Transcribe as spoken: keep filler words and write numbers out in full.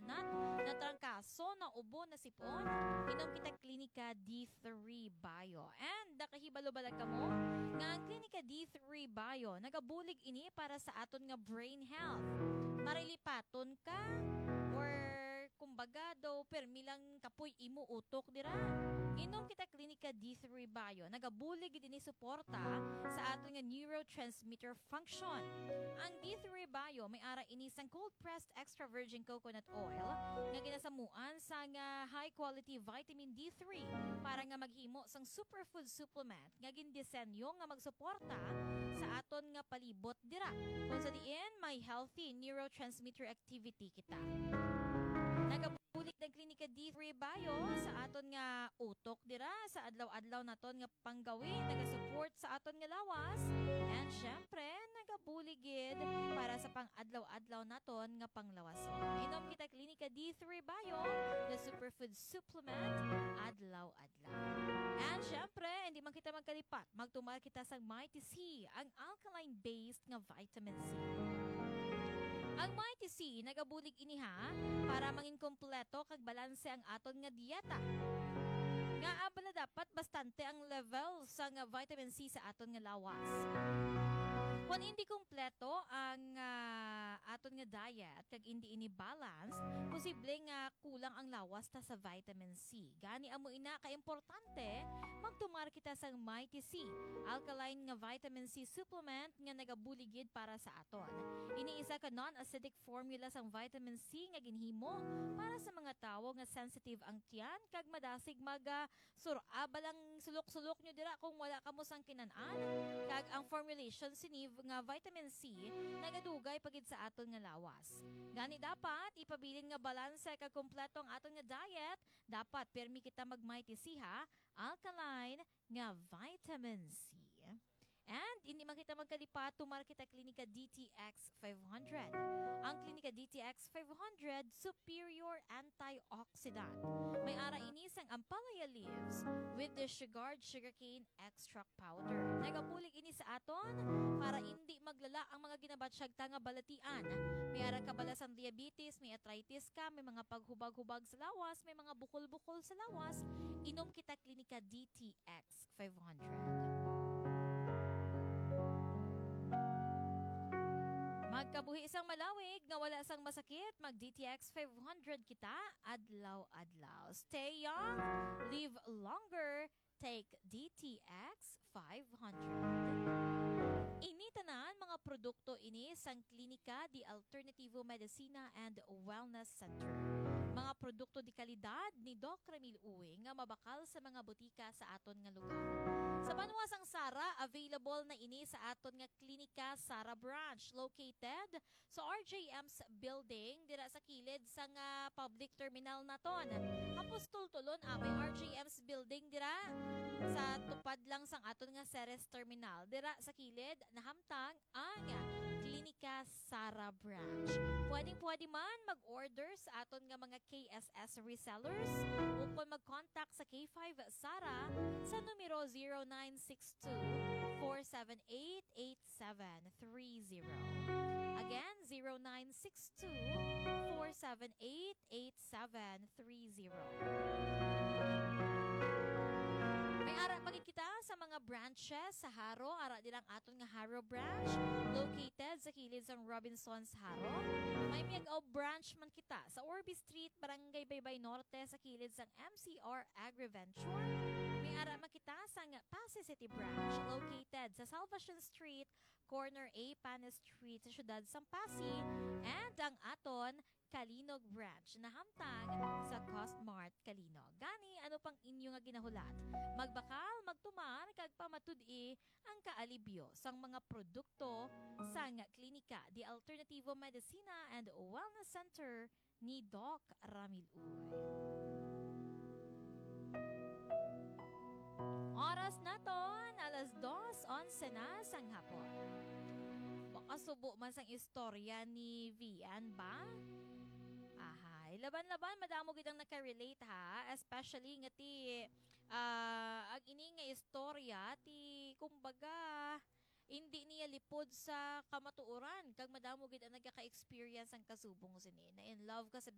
nat, natrangkaso, naubo, nasip-on, inom kita Klinika D three Bio. And nakahibalo bala kamo nga ang Klinika D three Bio nagabulig ini para sa aton nga brain health. Marilipaton ka or kumbaga daw permi lang kapoy imo utok dira. Inom kita Klinika D three Bio. Nagabulig gid ini suporta sa aton nga neurotransmitter function. Ang D three Bio may ara ini sang cold pressed extra virgin coconut oil nga ginasamuan sang high quality vitamin D three para nga maghimo sang superfood supplement nga gindisenyo nga magsuporta sa aton nga palibot dira, kung sa diin may healthy neurotransmitter activity kita. Nagabulig ang Klinika D three Bio sa aton nga utok dira sa adlaw-adlaw naton nga panggawi, nagasupport sa aton nga lawas, and syempre, nagabulig gid para sa pang-adlaw-adlaw naton nga panglawason. Inom kita Klinika D three Bio, the superfood supplement, adlaw-adlaw. And syempre, hindi man kita magkalipat, magtumar kita sang Mighty C, ang alkaline-based nga vitamin C. Ang Mighty C nagabulig ini ha para mangin kompleto kag balanse ang aton nga dieta. Ngaa bala dapat bastante ang level sang vitamin C sa aton nga lawas? Kon hindi kompleto ang ah, aton nga diet kag hindi ini balance, posible nga kulang ang lawas ta sa vitamin C. Gani amo ina ka importante magtumar kita sang Mighty C, alkaline nga vitamin C supplement nga nagabulig gid para sa aton. Ini isa ka non-acidic formula sang vitamin C nga ginhimo para sa mga tawo nga sensitive ang tiyan kag madasig mag ah, sur-a bala ang sulok-sulok nyo dira kung wala kamo sang kinan-an. Kag ang formulation sini v-, nga vitamin C nagadugay pa gid sa aton nga lawas. Gani dapat ipabilin nga balanse kag kompleto ang aton nga diet. Dapat pirmi kita mag-Mighty C ha, alkaline nga vitamin C. And hindi man kita magkalipat, tumar kita Klinika D T X five hundred. Ang Klinika D T X five hundred, superior antioxidant. May ara ini sang ampalaya leaves with disregard sugarcane extract powder. Nagabulig ini sa aton para hindi maglala ang mga ginabatsyag ta nga balatian. May ara ka bala sang diabetes, may arthritis ka, may mga paghubag-hubag sa lawas, may mga bukol-bukol sa lawas, inom kita Klinika D T X five hundred. Magkabuhi sang malawig nga wala sang masakit, mag D T X five hundred kita adlaw-adlaw. Stay young, live longer, take D T X five hundred. Ini tanan mga produkto ini sang Klinika de Alternativo Medicina and Wellness Center. Mga produkto de kalidad ni Doc Ramil Uy nga mabakal sa mga butika sa aton nga lugar. Sa banwa sang Sara, available na ini sa aton nga Klinika Sara Branch, located sa R J M's building dira sa kilid sang public terminal naton. Apostol Tulon, ah, may R J M's building dira sa tupad lang sang aton nga Ceres terminal. Dira sa kilid, nahamtang ang Klinika Sara Branch. Pwedeng-pwede man mag-order sa aton nga mga K S S resellers ukon mag-contact sa K five Sara sa numero zero nine six two, four seven eight, eight seven three zero. Again, zero nine six two, four seven eight, eight seven three zero. May ara pa gid kita sa mga branches sa Jaro. Ara dira ang aton nga Jaro branch, located sa kilid sang Robinsons Jaro. May Miagao branch man kita sa Orbe Street, Barangay Baybay Norte, sa kilid sang M C R Agriventure. May ara man kita sang Passi City branch, located sa Salvacion Street, corner A Panes Street, sa siyudad sang Passi, and ang aton Calinog branch, nahamtang sa Costmart Calinog. Gani, ano pang inyo nga ginahulat? Magbakal, magtumar, kag pamatud-i ang kaalibyo sang mga produkto sang Klinika de Alternativo Medicina and Wellness Center ni Doc Ramil Uy. Oras naton, alas dos onse na sang hapon. Makasubo man sang istorya ni Vian ba? Ahay, laban-laban, madamo gid ang nakarelate ha, especially nga ti, ah, ang ini nga istorya ti, kumbaga, hindi niya lipod sa kamatuoran, kag madamo gid ang nagaka-experience ang kasubong sini. Na in love ka sa